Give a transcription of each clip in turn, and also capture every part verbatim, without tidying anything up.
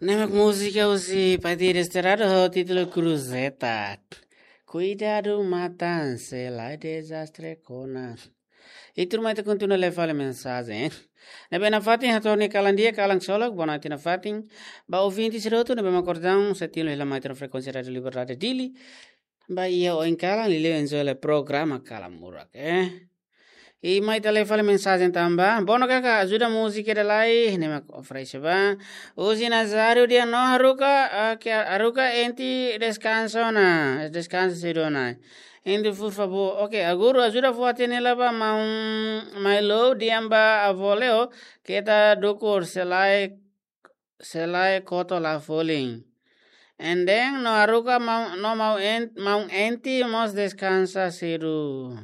Ne'e mak múzika husi Paty Desterrado ho títulu Cruzeta. Kuidadu matan, se lae dezastre kona. I tuirmai ita kontinua lee fali mensajen. Ne'ebé nafatin hato'o nia kalan di'ak, kalan ksolok, bonoite nafatin. Ba ouvinte sira hotu ne'ebé mak kordang, sei tilun hela mai iha frekuénsia Rádio Liberdade Dili. Ba iha oin kalan, liuliu enjoy hela programa Kalan Murak, eh. I mai ita lee fali mensajen tanba. Bono kaka, ajuda múzika ida lai, ne'e mak oferese ba. Husi Nazário dehan no haruka, ah, ke haruka enti deskansa ona, deskansa sedu ona. Enti, por favór. Oke, agora ajuda fó-hatene hela ba maun Mailou dehan ba avó Leo, keta dukur se lae, se lae koto la folin. And then, no haruka maun, no maun en-, maun enti mós deskansa sedu.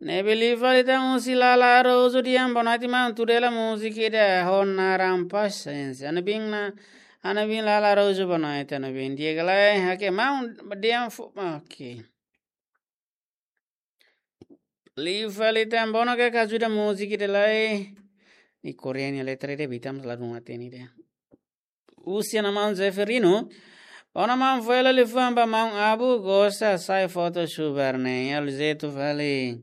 Ne'ebé liu fali tan husi Lala Araújo dehan bonoite maun, tuir hela múzika ida ho naran Paciência. Ha'u-nia biin na, ha'u-nia biin Lala Araújo bonoite, ha'u-nia biin. Di'ak ka lae, oke, maun dehan fó, oke. Liu fali tan bono kaka ajuda múzika ida lai. Nia Korea nia letra ida, ita mós ladún hatene ida. Husi ha'u-nia maun Zeferino. Bono maun, fó hela liafuan ba maun Abu, gosta hasai foto subar ne'e. Halo jeitu fali.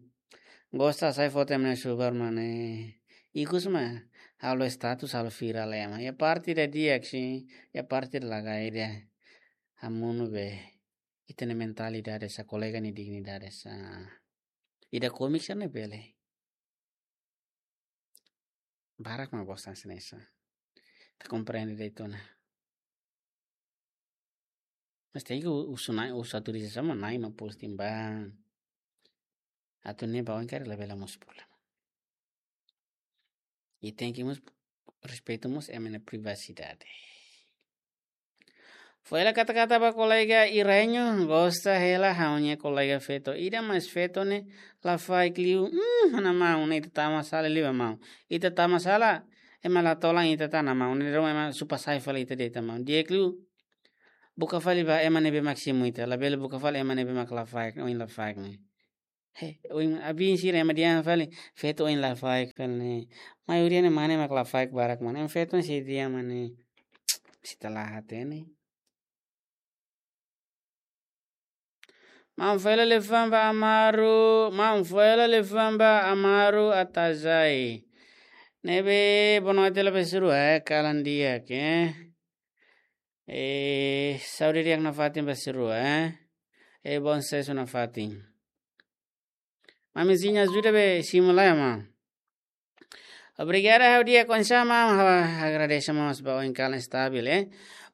Gosta hasai foto ema nia subar mak ne'e. Ikus mak halo status, halo viral ema. Iha parte ida di'ak, sin. Iha parte ida lagai ida. Hamonu be. Ita-nia mentalidade sá, kolega nia dignidade sá. Ida komik sira-ne'e bele. Barak mak bosan sira-ne'e sá. Ita komprende de'it ona. Mas tenke u-, husu Na'i, husu autorizasaun ba Na'i mak posting ba. Atu ne'e ba oin karik labele mosu problema. I tenke mós respeitu mós ema nia privasidade. Fó hela kata-kata ba kolega Irenho, gosta hela ha'u-nia kolega feto ida, mas feto ne'e lafaek liu. Hmm, ha'u-nia maun, ne'e ita tama sala liu ba maun. Ita tama sala, ema la tolan ita tan maun. Ne'e dong ema supa sai fali ita de'it maun. Di'ak liu. Buka fali ba ema ne'ebé mak simu ita. Labele buka fali ema ne'ebé mak lafaek, oin lafaek ne'e. He, oin, abin sira ema dehan fali, feto oin lafaek fali ne'e. Maioria ne'e mane mak lafaek barak mane. Em feto ne'e sei dehan mane. Sei tala hatene. Maun, fó hela liafuan ba Amaru, maun, fó hela liafuan ba Amaru Atazai. Ne'ebé bonoite la ba sira rua, eh, kalan di'ak, eh. Eh, saúde di'ak nafatin ba sira rua, eh. Eh, bom susesu nafatin. Mamizinha ajuda be simu lai, maun. Obrigada, ha'u di'ak oinsá, maun, ha'u agradese mós ba oin kalan stabil, eh.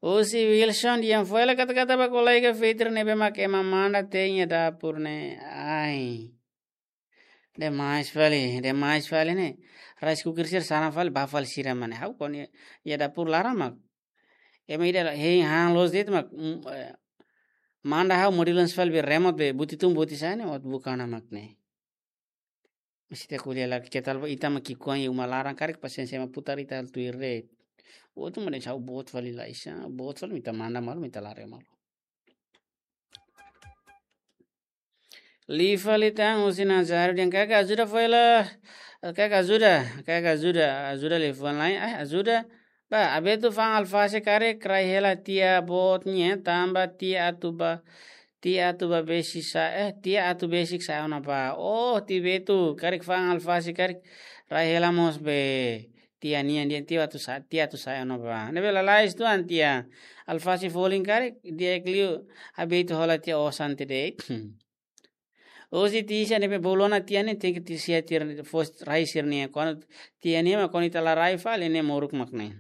Husi Wilson dehan fó hela kata-kata ba kolega Fitri ne'ebé mak ema manda te'in iha dapur ne'e. Ai. Demais fali, demais fali ne'e. Rice cooker sira sana fali, ba fali sira mak ne'e. Ha'u koni iha dapur laran mak. Ema ida la, hein han loos de'it mak, mm, eh, manda ha'u modelu fali be remote be buti tun buti sa'e ne'e, ot buka ona mak ne'e. Mesti te kuliah lagi ketal ba ita mak ki'ikoan iha uma laran karik pasiénsia ema putar ita halo tuir de'it. Outro mane ha'u boot fali la iha, boot fali mak ita manda malu, mak ita lare malu. Liu fali tan husi Nazário dehan kaka ajuda fó hela, kaka ajuda, kaka ajuda, ajuda liafuan lai, ah, ajuda. Ba, Abetu fa'an alfase karik rai hela tia boot nian, tanba tia atu ba, tia atu ba besik sa'e, eh, tia atu besik sa'e ona ba. Oh, tia Betu, karik fa'an alfase karik rai hela mós be tia nian, dehan tia atu sa-, tia atu sa'e ona ba. Ne'ebé lalais tuan tia. Alfase folin karik, di'ak liu, Abetu hola tia osan ida de'it. Husi Tisia ne'ebé bolu ona tia ne'e, tenke Tisia tia fó rai sira-nian. Kuandu tia nian mak kuandu ita la rai fali ne'e moruk mak ne'e.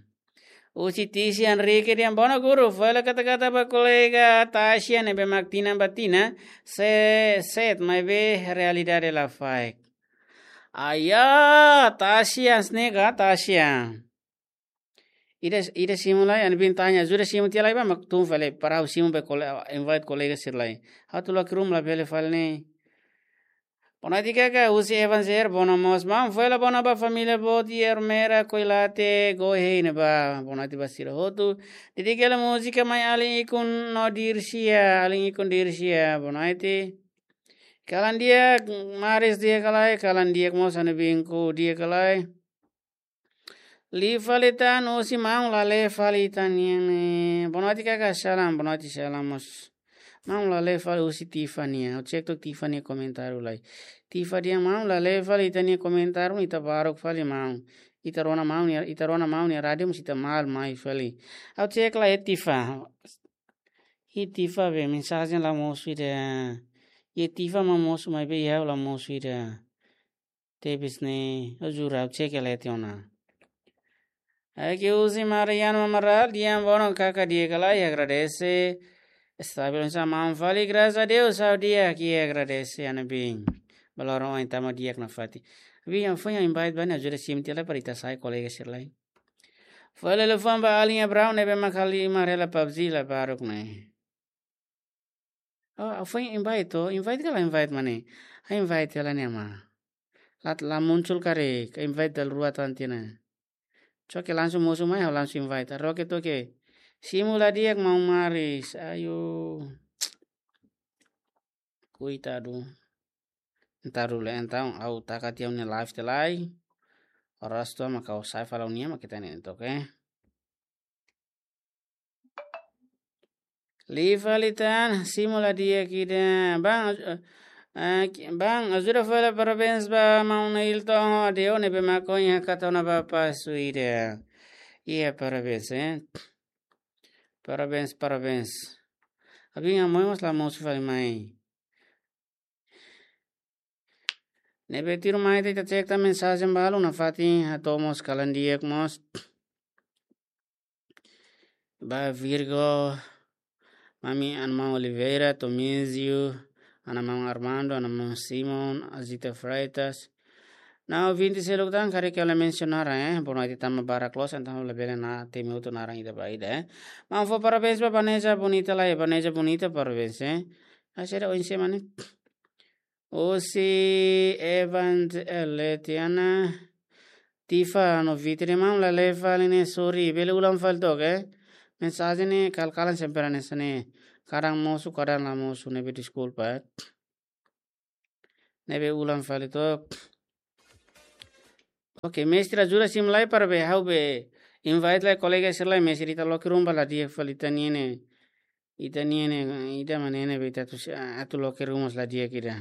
Husi Tisia Henrique dehan bono guru, fó hela kata-kata ba kolega Tasia ne'ebé mak tinan ba tinan, se-, set, maibé realidade lafaek. Aya, Tasia, snega, Tasia. Ida, ida simu lai, ha'u-nia biin tanya, ajuda simu tia lai ba, mak tun fali, para ha'u simu be kole-, invite kolega sira lai. Ha'u atu la'o iha ruma labele fali ne'e. Bonoite kaka, husi Evanzer, bono mós, maun, fó hela bono ba família boot iha Ermera, Koilate, Gohei ne'ebá, bonoite ba sira hotu. Dedika hela múzika mai alin ikun no Dirsia, alin ikun Dirsia, bonoite. Kalan di'ak, Maris di'ak ka lae, kalan di'ak mós ha'u-nia biin Ku di'ak ka lae. Liu fali tan, husi maun la lee fali ita-nian ne'e. Boa noite kaka, salam, boa noite, salam mós. Maun la lee fali husi Tifa nian. Ha'u cek took Tifa nia komentáriu lai. Tifa dehan maun la lee fali ita-nia komentáriu, ita baruk fali maun. Ita rona maun nia, ita rona maun nia rádiu mós ita malu mai fali. Ha'u cek lai iha Tifa. Iha Tifa be mensajen la mosu ida. Iha Tifa mak mosu maibé iha ha'u la mosu ida. Tebes ne'e, ha'u jura, ha'u cek lai tiha ona. Ai ke husi Mariano Amaral, dehan bono kaka di'ak ka lae, agradese. Estabil oinsá maun fali, graças a Deus, ha'u di'ak, agradese, Anabin. Balor oin tama di'ak nafatin. Bin, foin invite ba ne'e, ajuda simu tiha lai para ita sai kolega sira lai. Foin halo liafuan ba alin Abraão ne'ebé mak halimar hela PUBG la baruk ne'e. Oh, foin invite to, invite ka la invite mane? Ha'u invite hela ne'e mak. La, la muncul karik, invite dala rua tan tiha ona. Coke langsung mosu mai, ha'u langsung invite. Roke toke. Simu la di'ak maun Maris. Ayo. Koitadu. Entaun, entaun, ha'u taka tiha ha'u-nia live tiha lai. Oras to'o mak ha'u sai fali ha'u-nian mak ita-nian took, eh. Liu fali tan, simu la di'ak ida. Bang, eh, eh, ki-, bang, ajuda fali parabéns ba maun Hilton ho Adeo ne'ebé mak ohin hakat ona ba pasu ida. Iya, parabéns, eh. Parabéns, parabéns. Abin, ha'u-nia moe mós la mosu fali mai. Ne'ebé tuirmai ita cek tan mensajen balu nafatin, hato'o mós kalan di'ak mós. Ba Virgo, mami Ana Maun Oliveira, Tomizio, Ana Maun Armando, Ana Maun Simon, Azita Freitas. Na'in-rua seluk tan karik ha'u la mensiona naran, eh. Bono ita tama barak loos, entaun labele na temi hotu naran ida ba ida, eh. Maun fó parabéns ba Vanessa Bonita lai, Vanessa Bonita parabéns, eh. Asera oinsá mane. Husi Evangeletiana Tifa no Vitri maun la lee fali ne'e, sorry, bele ulang fali took, eh. Mensajen ne'e kal-kalan sempre hanesan ne'e. Kadang mosu, kadang la mosu, ne'ebé deskulpa, eh. Ne'ebé ulang fali took. Oke, mestre ajuda simu lai para be, ha'u be invite lai kolega sira lai, mestre ita loke ruma la di'ak fali ita-nian ne'e. Ita-nian ne'e, ita mane ne'ebé ita atu si-, atu loke ruma la di'ak ida.